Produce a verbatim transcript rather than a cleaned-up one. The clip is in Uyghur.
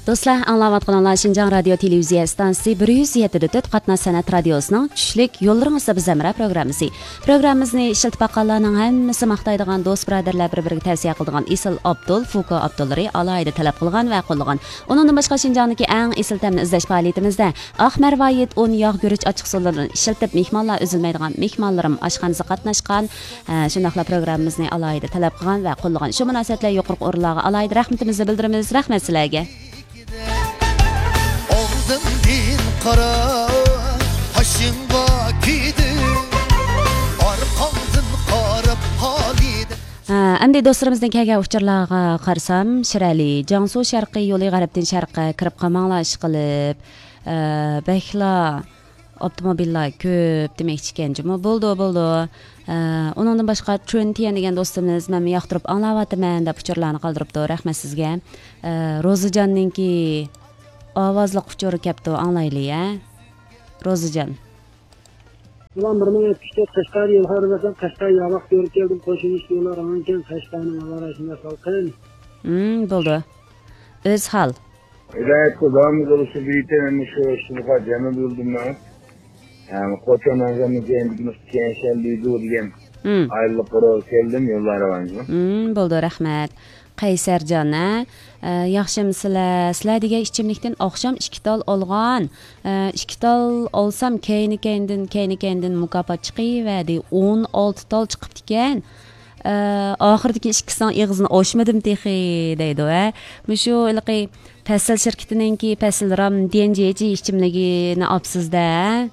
دوستلار، ئاڭلاۋاتقىنىڭلار شىنجاڭ رادىيو تېلېۋىزىيە ئىستانسىسى بىر يۈز يەتتە دە تۆت قاتناش سەنئەت رادىيوسىنىڭ چۈشلۈك يوللىرىڭىزدا بىز ھەمراھ پروگراممىسى. پروگراممىمىزنى ئىشلىتىپ باققانلارنىڭ ھەممىسى ماختايدىغان، دوست بۇرادەرلەر بىر-بىرىگە تەۋسىيە قىلىدىغان ئېسىل ئابدۇل، فۇكو ئابدۇللىرى ئالاھىدە تەلەپ قىلغان ۋە قوللىغان. ئۇنىڭدىن باشقا، شىنجاڭدىكى ئەڭ ئېسىل تەمنى ئىزدەش پائالىيىتىمىزدە ئاق مەرۋايىت ئۇن، ياغ، گۈرۈچ ئاچچىقسۇلىرىنى ئىشلىتىپ، مېھمانلار ئۈزۈلمەيدىغان مېھمانلىرىم ئاشخانىسىغا قاتناشقان، ھە، شۇنداقلا پروگراممىمىزنى ئالاھىدە تەلەپ قىلغان ۋە قوللىغان. شۇ مۇناسىۋەت بىلەن يۇقىرىقى ئورۇنلارغا ئالاھىدە رەھمىتىمىزنى بىلدۈرىمىز. رەھمەت سىلەرگە. ئالدىمدىن قارا، قېشىڭغا كېلىدۇ، ئارقاڭدىن قاراپ قالىدۇ. ھە، ئەمدى دوستلىرىمىزدىن كەلگەن ئۇچۇرلارغا قارىسام، شىرئەلى، جياڭسۇ شەرقىي يولى غەربتىن شەرققە كىرىپ قالماڭلار، ئىشقىلىپ، ئە، بەكلا ئاپتوموبىللار كۆپ دېمەكچىكەن جۇمۇ. بولىدۇ، بولىدۇ. ئە، ئۇنىڭدىن باشقا، چۈن تيەن دېگەن دوستىمىز، مەنمۇ ياقتۇرۇپ ئاڭلاۋاتىمەن دەپ ئۇچۇرلارنى قالدۇرۇپتۇ. رەھمەت سىزگە. ئە، روزىجاننىڭكى ئاۋازلىق ئۇچۇرى كەپتۇ، ئاڭلايلى، ھە؟ روزىجان. ئۇلان بىر مىڭ يەتمىش تۆت قەشقەر يوللار بەرسەم، قەشقەر ياۋاق كۆرۈپ كەلدىم، قوشۇن ئىش يوللار ئاڭلىكەن، قەشقەرنىڭ ھاۋا رايى شۇنداق سالقىن. ھىم، بولىدۇ. ئۆز ھال. ھىدايەت قۇدامىز بولسا بىتەن مۇشۇ شۇنقا جەمە بولدۇم مەن. ھەم قوچان ئەزەمنىڭ كەينىدىكى نۇقتا كەنشەن دېيدۇ دېگەن ھىم. ئايلىق قورۇ كەلدىم يوللار راۋانجىغا. ھىم، بولىدۇ، رەھمەت. قەيسەرجان، ھە؟ ئە، ياخشىمۇ سىلەر؟ سىلەر دېگەن ئىچىملىكتىن ئاخشام ئىككى تال ئالغان. ئە، ئىككى تال ئالسام، كەينى-كەينىدىن، كەينى-كەينىدىن مۇكاپات چىقىۋەردى. ئون ئالتە تال چىقىپتىكەن. ئە، ئاخىرىدىكى ئىككىسىنىڭ ئېغىزىنى ئاچمىدىم تېخى، دەيدۇ، ھە؟ مۇشۇ ھېلىقى پەسىل شىركىتىنىڭكى پەسىل رام دى ئېن جى ئىچىملىكىنى ئاپسىز-دە، ھە؟